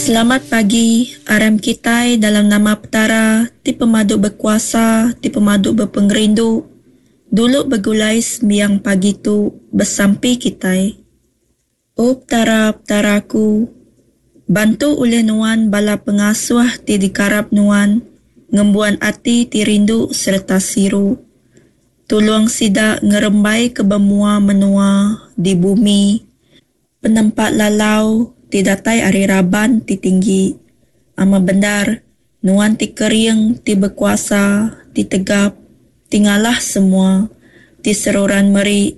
Selamat pagi, aram kitai dalam nama Petara ti pemadu bekuasa ti pemadu bepengerindu dulu begulai sembiang pagi tu besampi kitai. O Petara, Petara aku, bantu ulih Nuan bala pengasuh ti dikarap Nuan ngembuan ati ti rindu sereta siru. Tulung sida ngerembaika ba mua menua di bumi penempa lalau ti datai ari raban ti tinggi. Amat bendar, Nuan ti kering, ti bekuasa, ti tegap, ti ngalah semua, ti seruran meri.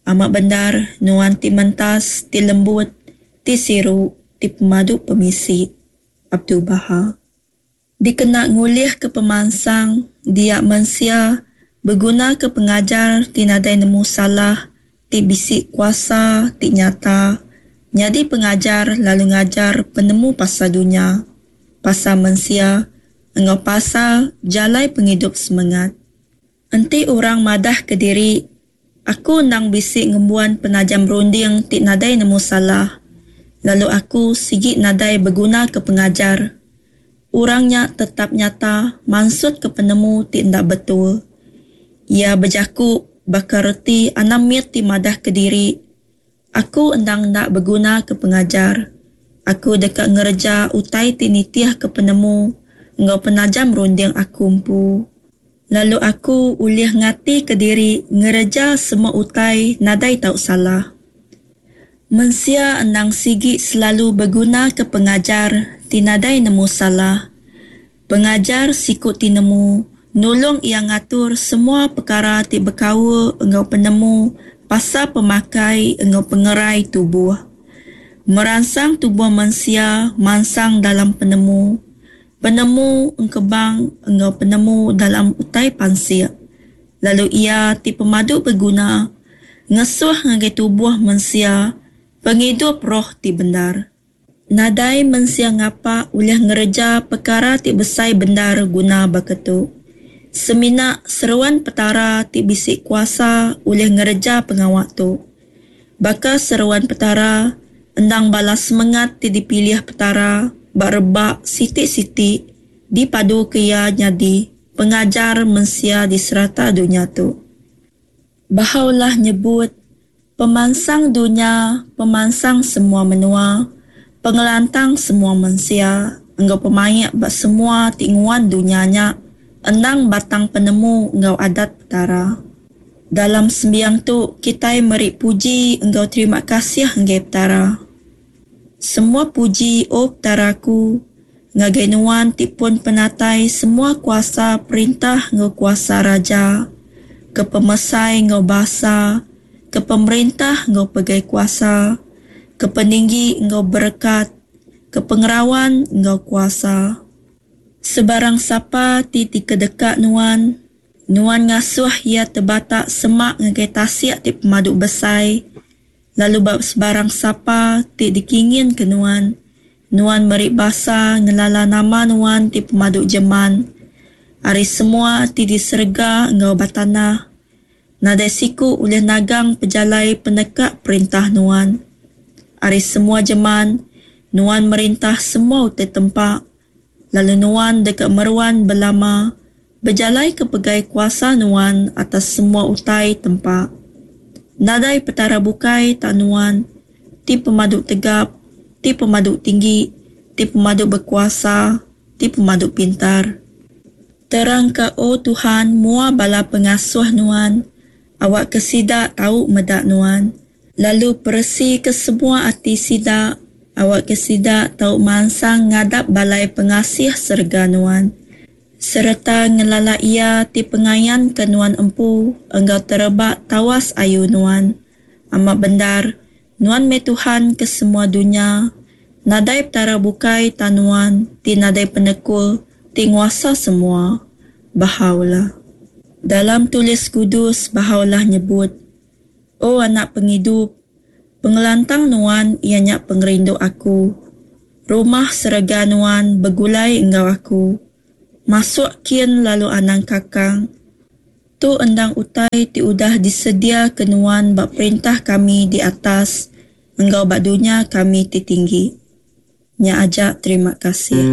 Amat bendar, Nuan ti mentas, ti lembut, ti siru, ti pemadu pemisi. Abdul-Baha. Dikena ngulihka pemansang dia mensia begunaka pengajar ti nadai nemu salah ti bisi kuasa ti nyata nyadi pengajar lalu ngajar penemu pasal dunya, pasal mensia enggau pasal jalai pengidup semengat. Enti orang madahka diri, Aku endang bisi ngembuan penajam runding ti nadai nemu salah, lalu aku sigi nadai begunaka pengajar. Orang nya tetap nyata mansutka penemu ti enda betul. Iya bejaku baka reti anak mit ti madahka diri, Aku endang enda begunaka pengajar. Aku deka ngereja utai ti nitihka penemu enggau penajam runding aku empu. Lalu aku ulih ngatika diri ngereja semua utai nadai tau salah. Mensia endang sigi selalu begunaka pengajar ti nadai nemu salah. Pengajar siku ti nemu nulung iya ngatur semua pekara ti bekaul enggau penemu pasal pemakai enggau pengerai tubuh. Meransang tubuh mensia mansang dalam penemu, penemu engkebang enggau penemu dalam utai pansik, lalu iya ti pemadu beguna ngesuh ngagai tubuh mensia pengidup roh ti bendar. Nadai mensia ngapa ulih ngereja pekara ti besai bendar guna baka tu. Semina seruan Petara ti bisi kuasa ulih ngereja pengawa tu. Baka seruan Petara, endang bala semengat ti dipilih Petara ba rebak siti-siti dipaduka Iya nyadi pengajar mensia di serata dunya tu. Baha'u'llah nyebut, Pemansang dunya, pemansang semua menua, pengelantang semua mensia enggau pemaik ba semua ti nguan dunya nya endang batang penemu enggau adat Petara. Dalam sembiang tu kitai meri puji enggau terima kasih enggai Petara. Semua puji O Petara aku, ngagai Nuan ti pun penatai semua kuasa perintah enggau kuasa raja, ke pemesai enggau basa, ke pemerintah enggau pegai kuasa, ke peninggi enggau berekat, ke pengerawan enggau kuasa. Sebarang sapa ti dikedeka Nuan, Nuan ngasuh iya tebatak semak ngagai tasik ti pemadu besai, Lalu ba sebarang sapa ti dikinginka nuan, nuan meri basa ngelala nama nuan ti pemadu jeman. Ari semua ti di serega enggau ba tanah, nadai siku ulih nagang pejalai peneka perintah nuan. Ari semua jeman, nuan merintah semua utai tempa, lalu nuan deka meruan belama bejalaika pegai kuasa nuan atas semua utai tempa. Nadai petara bukai tang nuan, ti pemadu tegap, ti pemadu tinggi, ti pemadu bekuasa, ti pemadu pintar. Terangka, O Tuhan, mua bala pengasuh Nuan, awakka sida tau meda Nuan. Lalu peresika semua ati sida, awakka sida tau mansang ngadap balai pengasih serega Nuan, sereta ngelala Iya ti pengayanka Nuan empu enggau tereba tawas ayu Nuan. Amat bendar, Nuan meh Tuhan ke semua dunya, nadai petara bukai tang Nuan ti nadai penekul ti nguasa semua. Bahá'u'lláh. Dalam Tulis Kudus, Bahá'u'lláh nyebut, O anak pengidup, pengelantang nuan iya nya pengerindu aku. Rumah serega nuan begulai enggau aku. Masuk kin lalu anang kakang. Tu endang utai ti udah disediaka nuan ba perintah kami di atas enggau ba dunya kami ti tinggi. Nya aja terima kasih.